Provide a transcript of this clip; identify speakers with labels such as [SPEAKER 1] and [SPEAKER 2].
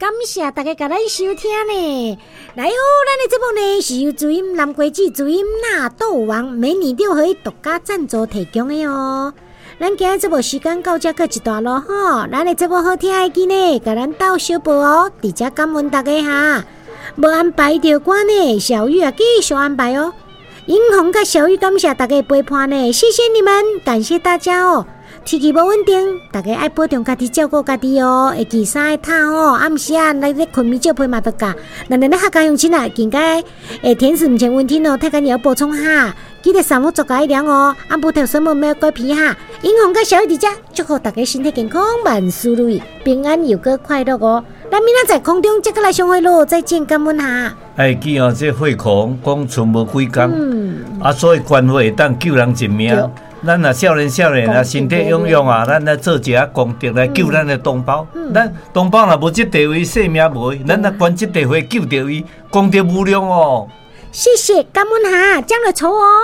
[SPEAKER 1] 感謝大家共咱收聽呢。來哦，咱的節目呢是由注音南瓜子、注音納豆王美女六合一獨家贊助提供的哦。咱今日節目時間到這閣一段囉吼，咱的節目好聽會記呢，共咱鬥相報哦，佇遮感恩大家哈。無安排著歌呢，小玉啊繼續安排哦。英紅佮小玉感謝大家陪伴呢，謝謝你們，感謝大家哦。天氣無穩定，大家愛保重家己，照顧家己哦。會記衫愛褪哦，暗時啊來咧睏眠少被嘛著咬。咱咱咧客家鄉親啊，近該甜食毋前溫馨哦，太緊要補充哈。記得三伏做加涼哦，按不頭什麼沒有乖皮哈。英紅佮小玉佇遮，祝福大家身體健康，萬事如意，平安又閣快樂哦。咱明仔載空中再閣來相會囉，再見，感恩哈。
[SPEAKER 2] 愛記哦，這血庫講賰無幾工，啊，所以捐血會當救人一命。咱若少年少年啊，身體勇勇啊，咱來做一下功德來救咱的同胞。咱同胞若無這地位，性命無，咱若捐這塊血救著伊，功德無量哦。
[SPEAKER 1] 謝謝，感恩哈，將來抽哦。